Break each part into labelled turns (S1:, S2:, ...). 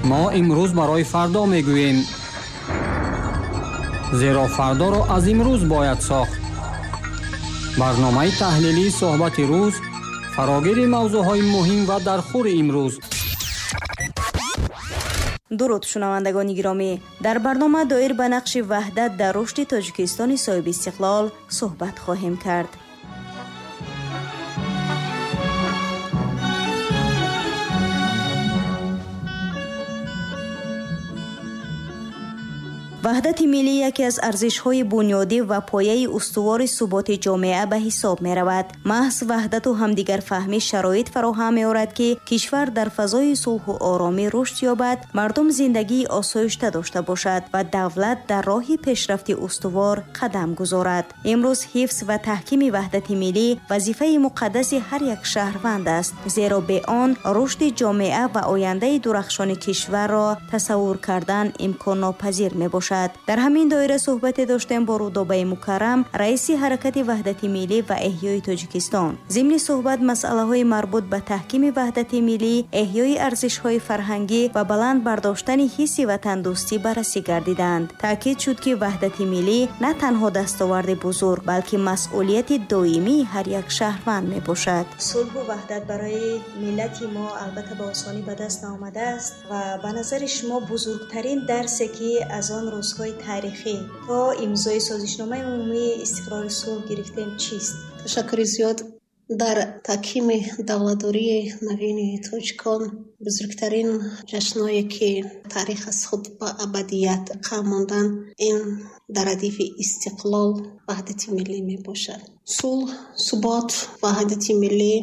S1: Мо имрӯз барои фардо мегӯем, зеро фардоро аз имрӯз бояд сохт. Барномаи таҳлилии суҳбати рӯз, фарогири мавзӯъҳои муҳим ва дархӯри имрӯз.
S2: Дуруд, шунавандагони гиромӣ. Дар барнома доир ба нақши ваҳдат дар рушди Тоҷикистони соҳиби истиқлол суҳбат хоҳем кард. Ваҳдати миллӣ яке аз арзишҳои бунёдӣ ва пояи устувори суботи ҷомеа ба ҳисоб меравад. Маҳз ваҳдату ҳамдигарфаҳмӣ шароит фароҳам меорад, ки кишвар дар фазои сулҳу оромӣ рушд ёбад, мардум зиндагии осоишта дошта бошад ва давлат дар роҳи пешрафти устувор қадам гузорад. Имрӯз ҳифз ва таҳкими ваҳдати миллӣ вазифаи муқаддаси ҳар як шаҳрванд аст, зеро бе он рушди ҷомеа ва ояндаи дурахшони кишварро тасаввур кардан имконнопазир мебошад. Дар ҳамин доира суҳбате доштем бо Рудобаи Мукаррам, раиси ҳаракати ваҳдати миллӣ ва эҳёи Тоҷикистон. Зимни суҳбат масъалаҳои марбут ба таҳкими ваҳдати миллӣ, эҳёи арзишҳои фарҳангӣ ва баланд бардоштани ҳисси ватандӯстӣ баррасӣ гардиданд. Таъкид шуд, ки ваҳдати миллӣ на танҳо дастоварди бузург, балки масъулияти доимии ҳар як шаҳрванд мебошад. Сулҳу ваҳдат барои миллати мо албатта ба осонӣ ба даст наомадааст ва ба назари шумо бузургтарин дарсе, ки аз он рӯзҳои таърихӣ то имзои созишномаи умумии истиқрори сулҳ гирифтем, чист?
S3: Ташаккури зиёд. Дар таҳкими давлатдории навини тоҷикон бузургтарин ҷашнҳое, ки таърих аз худ ба абадият қам монданд, ин дар радифи истиқлол ваҳдати миллӣ мебошад. Сулҳ, субот, ваҳдати миллӣ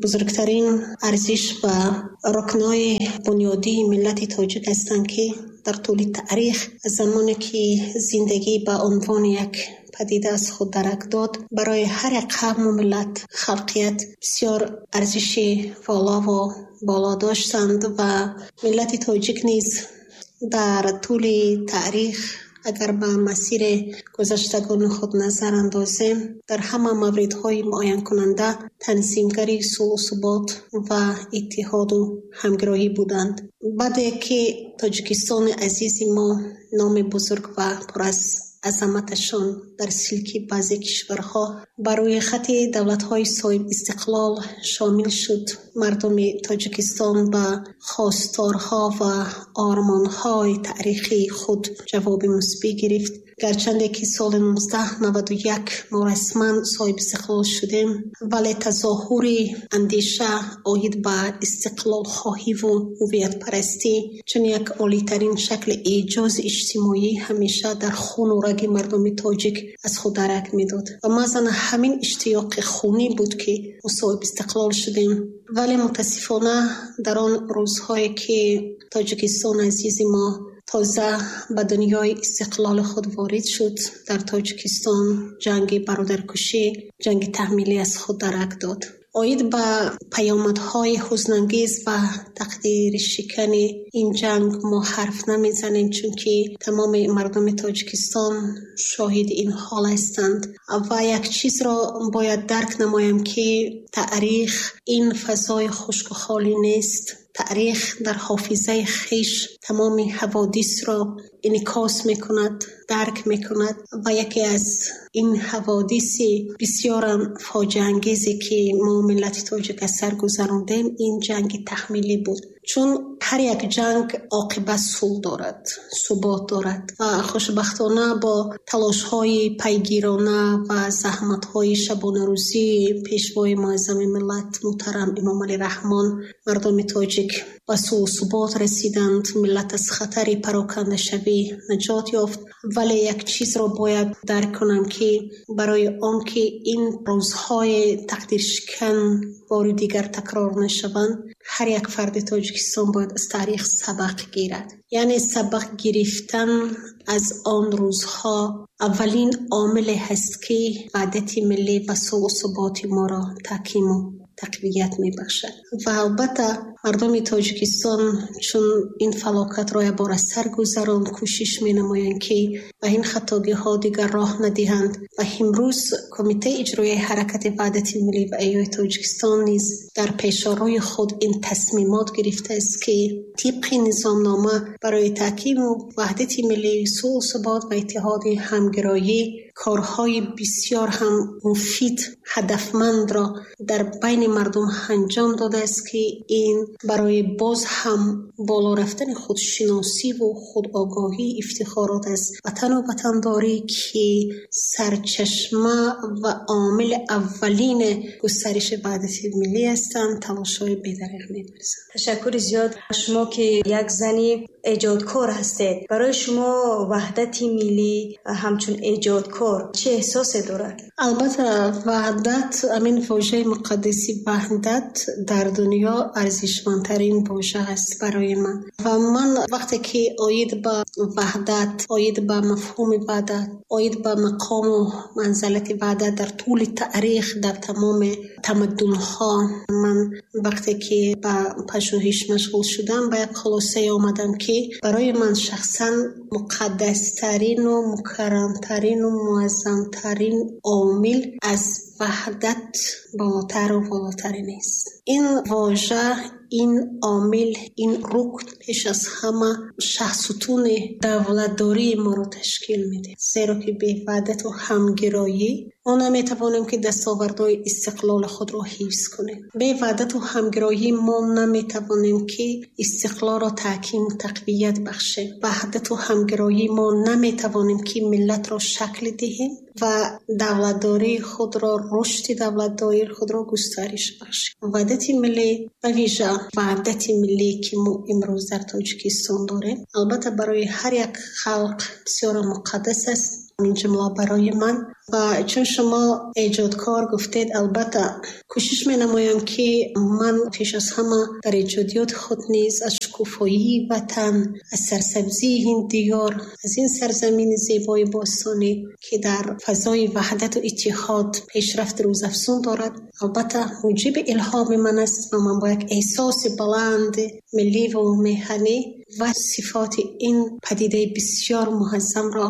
S3: бузургтарин арзиш ва рукнҳои бунёдии миллати тоҷик ҳастанд, ки дар тӯли таърих аз замоне ки зиндагӣ ба унвони як падида аз худ дарак дод, барои ҳар як қавму миллат, халқият бисёр арзиши волову боло доштанд ва миллати тоҷик низ дар тӯли таърих агар ба масири гузаштагони худ назар андозем, дар ҳама мавридҳои муайянкунанда танзимгари сулҳу субот ва иттиҳоду ҳамгироҳӣ буданд. Баъде ки Тоҷикистони азизи мо номи бузург ва пур аз азаматашон дар силки баъзе кишварҳо ба рӯи хати давлатҳои соҳибистиқлол шомил шуд, мардуми Тоҷикистон ба хосторҳо ва ормонҳои таърихии худ ҷавоби мусбӣ гирифт. Гарчанде ки соли 1991 мо расман соҳибистиқлол шудем, вале тазоҳури андеша оид ба истиқлолхоҳиву ҳувиятпарастӣ чун як олитарин шакли эъҷози иҷтимоӣ ҳамеша дар хуну раги мардуми тоҷик аз худ дарак медод ва маъзан ҳамин иштиёқи хунӣ буд, ки мо соҳибистиқлол шудем. Вале мутаассифона дар он рӯзҳое ки Тоҷикистони азизи мо тоза ба дунёи истиқлоли худ ворид шуд, дар Тоҷикистон ҷанги бародаркушӣ, ҷанги таҳмилӣ аз худ дарак дод. Оид ба паёмадҳои ҳузнангез ва тақдиршикани ин ҷанг мо ҳарф намезанем, чунки тамоми мардуми Тоҷикистон шоҳиди ин ҳол ҳастанд. Ва як чизро бояд дарк намоем, ки таърих ин фазои хушку холӣ нест. Таърих дар ҳофизаи хеш тамоми ҳаводисро инъикос мекунад, дарк мекунад ва яке аз ин ҳаводиси бисёрам фоҷиаангезе, ки мо миллати тоҷик аз сар гузарондем, ин ҷанги таҳмилӣ буд. Чун ҳар як ҷанг оқибат сулҳ дорад, субот дорад ва хушбахтона бо талошҳои пайгирона ва заҳматҳои шабонарӯзии пешвои муаззами миллат муҳтарам Эмомалӣ Раҳмон мардуми тоҷик ба сулҳу субот расиданд, миллат аз хатари парокандашавӣ наҷот ёфт. Вале як чизро бояд дарк кунам, ки барои он ки ин рӯзҳои тақдиршикан бори дигар такрор нашаванд, ҳар як фарди Тоҷикистон бояд аз таърих сабақ гирад. Яъне сабақ гирифтан аз он рӯзҳо аввалин омиле ҳаст, ки ваҳдати миллӣ ва сулҳу суботи моро таҳкиму тақвият мебахшад. Ва албатта Мардуми Тоҷикистон чун ин фалокатро якбор аз сар гузаронд, кӯшиш менамоянд, ки ба ин хатогиҳо дигар роҳ надиҳанд. Ва имрӯз Кумитаи иҷроияи ҳаракати Ваҳдати миллӣ ва эҳёи Тоҷикистон низ дар пешорои худ ин тасмимот гирифтааст, ки тибқи низомнома барои таҳкиму ваҳдати миллӣ, сулҳу субот ва иттиҳоди ҳамгироӣ корҳои бисёр ҳам муфид, ҳадафмандро дар байни мардум анҷом додааст, ки ин барои боз ҳам боло рафтани худшиносиву худогоҳӣ, ифтихорот аз ватану ватандорӣ, ки сарчашма ва омили аввалини густариши ваҳдати миллӣ ҳастанд, талошҳои бедареғ меварзанд.
S2: Ташаккури зиёд. Шумо ки як зани эҷодкор ҳастед, барои шумо ваҳдати миллӣ ҳамчун эҷодкор чӣ эҳсосе дорад?
S3: Албатта, ваҳдат, ҳамин вожаи муқаддаси ваҳдат дар дунё арзишмандтарин вожа аст барои ман. Ва ман вақте ки оид ба ваҳдат, оид ба мафҳуми ваҳдат, оид ба мақому манзалати ваҳдат дар тӯли таърих, дар тамоми тамаддунҳо, ман вақте ки ба пажӯҳиш машғул шудам, ба як хулосае омадам, ки барои ман шахсан муқаддастарину мукаррамтарину муаззамтарин омил аз ваҳдат болотару волотаре нест. Ин вожа, ин омил, ин рукн пеш аз ҳама шаҳсутуни давлатдории моро ташкил медиҳад. Зеро ки бе ваҳдату ҳамгироӣ мо наметавонем, ки дастовардҳои истиқлоли худро ҳифз кунем. Бе ваҳдату ҳамгироӣ мо наметавонем, ки истиқлолро таҳким, тақвият бахшем. Ваҳдату ҳамгироӣ мо наметавонем, ки миллатро шакл диҳем ва давлатдории худро, рушди давлатдории худро густариш бахшем. Ваҳдати миллӣ, ба вижа ваҳдати миллӣ, ки мо имрӯз дар Тоҷикистон дорем, албатта барои ҳар як халқ бисёр муқаддас аст, ин ҷумла барои ман. Ва чун шумо эҷодкор гуфтед, албатта кӯшиш менамоям, ки ман пеш аз ҳама дар эҷодиёти худ низ аз шукуфоии ватан, аз сарсабзии ин диёр, аз ин сарзамини зебои бостонӣ, ки дар фазои ваҳдату иттиҳод пешрафти рӯзафзун дорад, албатта муҷиби илҳоми ман аст ва ман бо як эҳсоси баланд милливу меҳанӣ ва сифоти ин падидаи бисёр муаззамро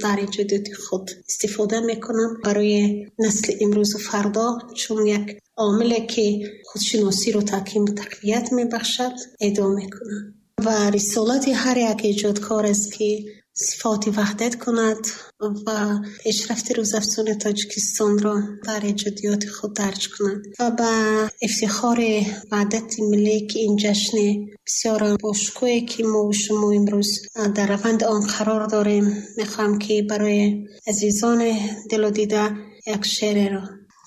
S3: дар эҷодиёти худ истифода мекунам барои насли имрӯзу фардо, чун як омиле ки худшиносиро таҳким тақвият мебахшад, эдо мекунам. Ва рисолати ҳар як эҷодкор аст, ки сифоти ваҳдат кунад ва пешрафти рӯзафзуни Тоҷикистонро дар эҷодиёти худ дарҷ кунад. Ва ба ифтихори ваҳдати миллӣ, ки ин ҷашни бисёр бошукӯҳе, ки мо шумо имрӯз дар раванди он қарор дорем, мехоҳам, ки барои азизони дилу дида як шеъреро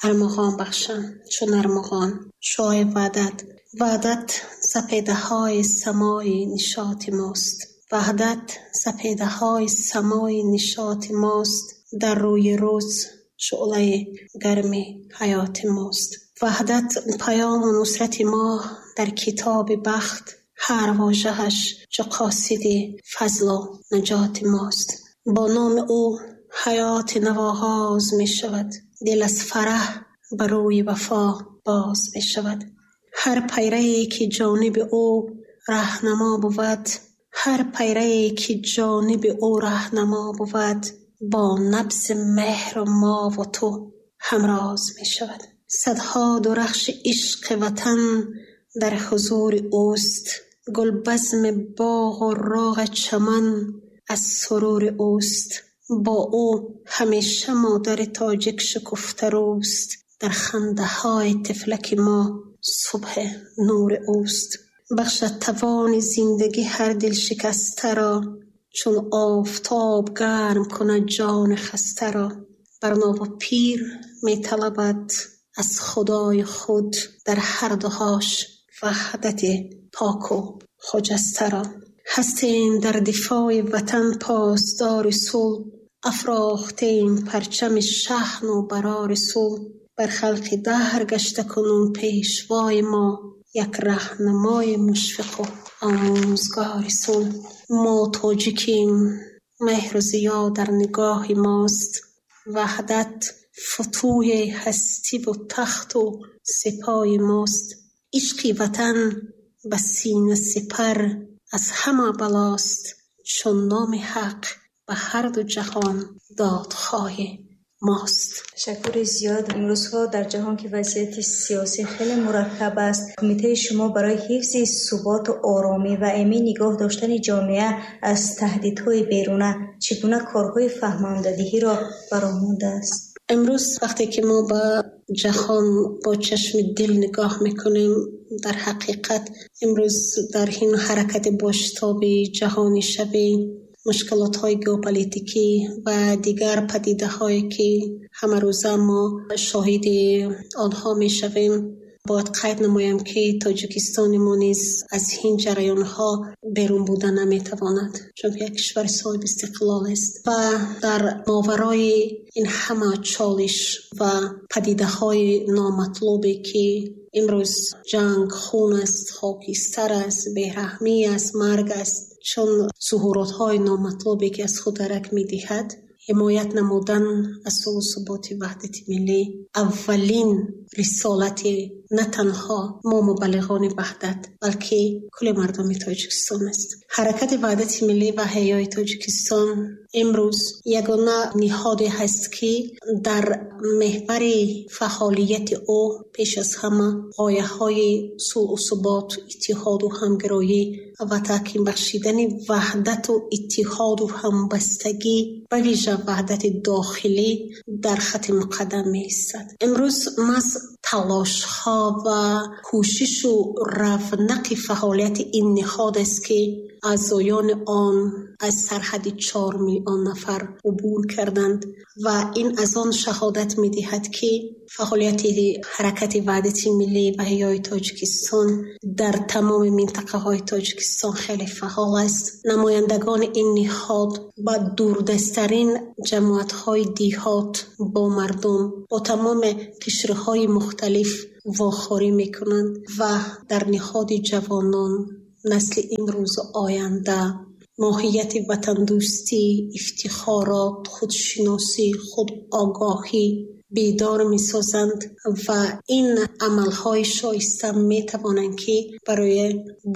S3: армуғон бахшам. Чун армуғон, шоҳи ваҳдат. Ваҳдат сапедаҳои самои нишоти мост. Ваҳдат сапедаҳои самои нишоти мост. Дар рӯи рӯз шӯълаи гарми ҳаёти мост. Ваҳдат паёму нусрати мо дар китоби бахт. Ҳар вожааш чу қосиди фазлу наҷоти мост. Бо номи ӯ ҳаёти нав оғоз мешавад. Дил аз фараҳ ба рӯи вафо боз мешавад. Ҳар пайрае ки ҷониби ӯ раҳнамо бувад, ҳар пайрае ки ҷониби ӯ раҳнамо бувад, бо набзи меҳру мову ту ҳамроз мешавад. Садҳо дурахши ишқи ватан дар ҳузури ӯст. Гулбазми боғу роғи чаман аз сурури ӯст. Бо ӯ ҳамеша модари тоҷик шукуфтарӯст. Дар хандаҳои тифлаки мо субҳи нури ӯст. Бахшад тавони зиндагӣ ҳар дилшикастаро, чун офтоб гарм кунад ҷони хастаро. Бар нову пир металабад аз худои худ дар ҳар дуҳош ваҳдати поку хуҷастаро. Ҳастем дар дифои ватан посдори сулҳ, афрохтем парчами шаҳну барори сулҳ. Бар халқи даҳр гашта кунун пешвои мо, як раҳнамои мушфиқу омӯзгори сулҳ. Мо тоҷикем, меҳру зиё дар нигоҳи мост. Ваҳдат футӯҳи ҳастиву тахту сипои мост. Ишқи ватан Ба сина сипар аз ҳама балост, чун номи ҳақ ба ҳар ду ҷаҳон додхоҳи мост.
S2: Ташаккури зиёд. Имрӯзҳо дар ҷаҳон ки вазъияти сиёсӣ хеле мураккаб аст, кумитаи шумо барои ҳифзи суботу оромӣ ва эмин нигоҳ доштани ҷомеа аз таҳдидҳои беруна чӣ гуна корҳои фаҳмондадиҳиро ба роҳ мондааст?
S3: Имрӯз вақте ки мо ба ҷаҳон бо чашми дил нигоҳ мекунем, дар ҳақиқат имрӯз дар ин ҳаракати бошитоби ҷаҳонишавӣ, мушкилотҳои геополитикӣ ва дигар падидаҳое ки ҳамарӯза мо шоҳиди онҳо мешавем, бояд қайд намоям ки Тоҷикистони мо низ аз ин ҷараёнҳо берун буда наметавонад, чунки як кишвари соҳиби истиқлол аст ва дар моварои ин ҳама чолиш ва падидаҳои номатлубе ки имрӯз ҷанг, хун аст, хокистар аст, бераҳмӣ аст, марг аст, чун зуҳуротҳои номатлубе ки аз худ дарак медиҳад, ҳимоят намудан аз сулҳу суботи ваҳдати миллӣ аввалин рисолати на танҳо мо мубаллиғони ваҳдат, балки кулли мардуми Тоҷикистон аст. Ҳаракати ваҳдати миллӣ ва ҳаёи Тоҷикистон имрӯз ягона ниҳоде ҳаст ки дар меҳвари фаъолияти ӯ пеш аз ҳама ғояҳои сулҳу субот, иттиҳоду ҳамгироӣ ва таҳким бахшидани ваҳдату иттиҳоду ҳамбастагӣ, ба вижа ваҳдати дохилӣ дар хати муқаддам меистад. Имрӯз маҳз талошҳо ва кӯшишу равнақи фаъолияти ин ниҳод аст ки аъзоёни он аз сарҳади 4 миллион нафар убур карданд ва ин аз он шаҳодат медиҳад ки фаъолияти ҳаракати ваҳдати миллӣ ва ҳаёи Тоҷикистон дар тамоми минтақаҳои Тоҷикистон хеле фаъол аст. Намояндагони ин ниҳод ба дурдасттарин ҷамоатҳои деҳот бо мардум, бо тамоми қишрҳои мухталиф вохӯрӣ мекунанд ва дар ниҳоди ҷавонон, насли имрӯзу оянда, моҳияти ватандӯстӣ, ифтихорот, худшиносӣ, худогоҳӣ бедор месозанд ва ин амалҳои шоиста метавонанд ки барои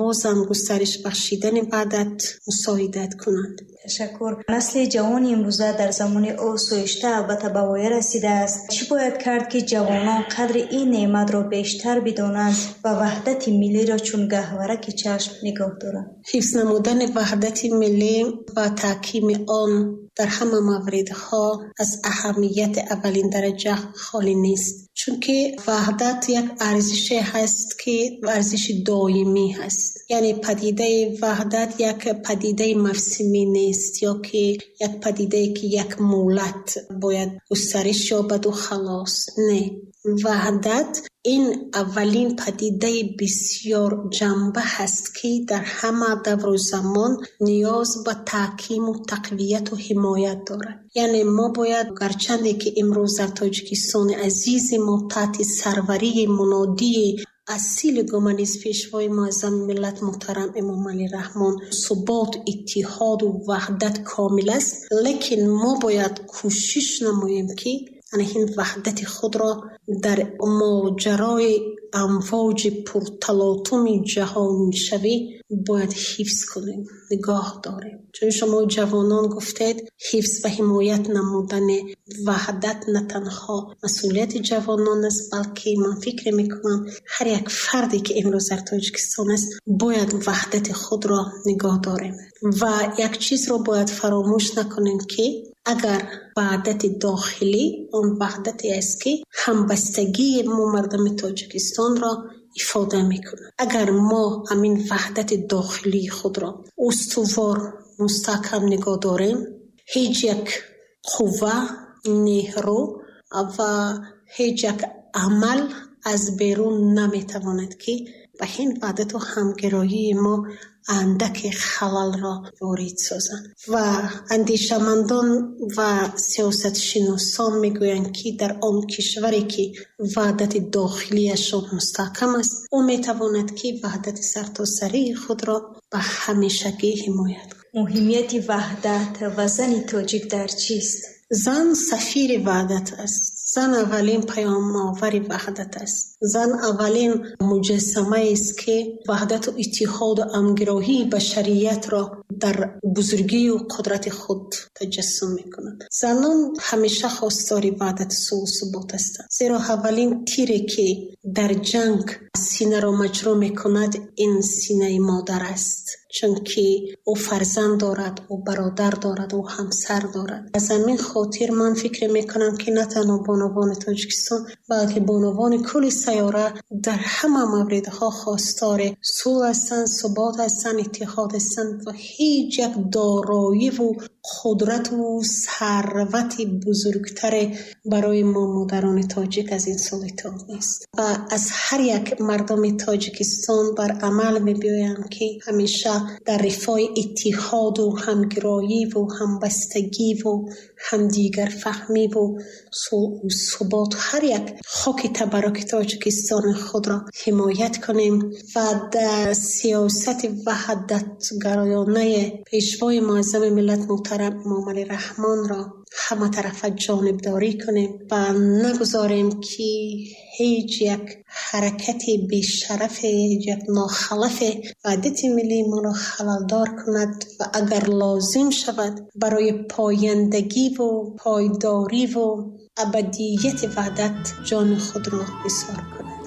S3: бозам густариш бахшидани ваҳдат мусоидат кунанд.
S2: Ташаккур. Насли ҷавони имрӯза дар замони осоишта албатта ба воя расидааст. Чӣ бояд кард ки ҷавонон қадри ин неъматро бештар бидонанд ва ваҳдати миллиро чун гаҳвораки чашм нигоҳ доранд?
S3: Ҳифз намудани ваҳдати миллӣ ва таҳкими он дар ҳама мавридҳо аз аҳамияти аввалин дараҷа холӣ нест, чунки ваҳдат як арзише ҳаст ки арзиши доимӣ ҳаст. Яъне падидаи ваҳдат як падидаи мавсимӣ нест ё ки як падидае ки як муҳлат бояд густариш ёбаду халос. Не, ваҳдат ин аввалин падидаи бисёр ҷанба ҳаст ки дар ҳама давру замон ниёз ба таҳкиму тақвияту ҳимоят дорад. Яъне мо бояд, гарчанде ки имрӯз дар Тоҷикистони азизи мо таҳти сарварии мунодии асили гуманист пешвои муаззами миллат муҳтарам Эмомалӣ Раҳмон субот, иттиҳоду ваҳдат комил аст, лекин мо бояд кӯшиш намоем ки ин ваҳдати худро дар моҷарои амвоҷи пурталотуми ҷаҳонишавӣ бояд ҳифз кунем, нигоҳ дорем. Чун шумо ҷавонон гуфтед, ҳифз ва ҳимоят намудани ваҳдат на танҳо масъулияти ҷавонон аст, балки ман фикр мекунам ҳар як фарде ки имрӯз дар Тоҷикистон аст бояд ваҳдати худро нигоҳ дорем. Ва як чизро бояд фаромӯш накунем ки агар ваҳдати дохилӣ он ваҳдате аст ки ҳамбастагии мо мардуми Тоҷикистонро ифода мекунад. Агар мо ҳамин ваҳдати дохилии худро устувор, мустаҳкам нигоҳ дорем, ҳеҷ як қувва, нерӯ ва ҳеҷ як амал аз берун наметавонад ки ба ин ваҳдату ҳамгироии мо андаке халалро ворид созанд. Ва андешамандон ва сиёсатшиносон мегӯянд ки дар он кишваре ки ваҳдати дохилиашон мустаҳкам аст, ӯ метавонад ки ваҳдати сартосарии худро ба ҳамешагӣ ҳимоят кунад.
S2: Муҳимияти ваҳдат ва зани тоҷик дар чист?
S3: Зан сафири ваҳдат аст. Зан аввалин паёмовари ваҳдат аст. Зан аввалин муҷассамаест, ки ваҳдату иттиҳоду ҳамгироҳии башариятро дар бузургию қудрати худ таҷассум мекунад. Занон ҳамеша хостори ваҳдату сулҳу субот ҳастанд. Зеро аввалин тире, ки дар ҷанг синаро маҷрӯҳ мекунад, ин синаи модар аст. Чунки ӯ фарзанд дорад, ӯ бародар дорад, ӯ ҳамсар дорад. Аз ҳамин хотир ман фикр мекунам, ки на танҳо бонувони Тоҷикистон, балки бонувони кулли сайёра дар ҳама мавридҳо хостори сулҳ ҳастанд, субот ҳастанд, иттиҳод ҳастанд ва ҳеҷ як дороиву қудрату сарвати бузургтаре барои мо модарони тоҷик аз ин сулҳ иттиҳод нест. Ва аз ҳар як мардуми Тоҷикистон бар амал мебиёям, ки ҳамеша дар рифои иттиҳоду ҳамгироиву ҳамбастагиву ҳамдигарфаҳмиву сулҳу субот ҳар як хоки табарруки Тоҷикистони худро ҳимоят кунем ва дар сиёсати ваҳдатгароёнаи Пешвои Муаззами миллат муҳтарам Эмомалӣ Раҳмонро ҳаматарафа ҷонибдорӣ кунем ва нагузорем, ки ҳеҷ як ҳаракати бешарафе, ҳеҷ як нохалафе ваҳдати миллии моро халалдор кунад ва агар лозим шавад барои пояндагиву пойдориву абадияти ваҳдат ҷони худро нисор кунад.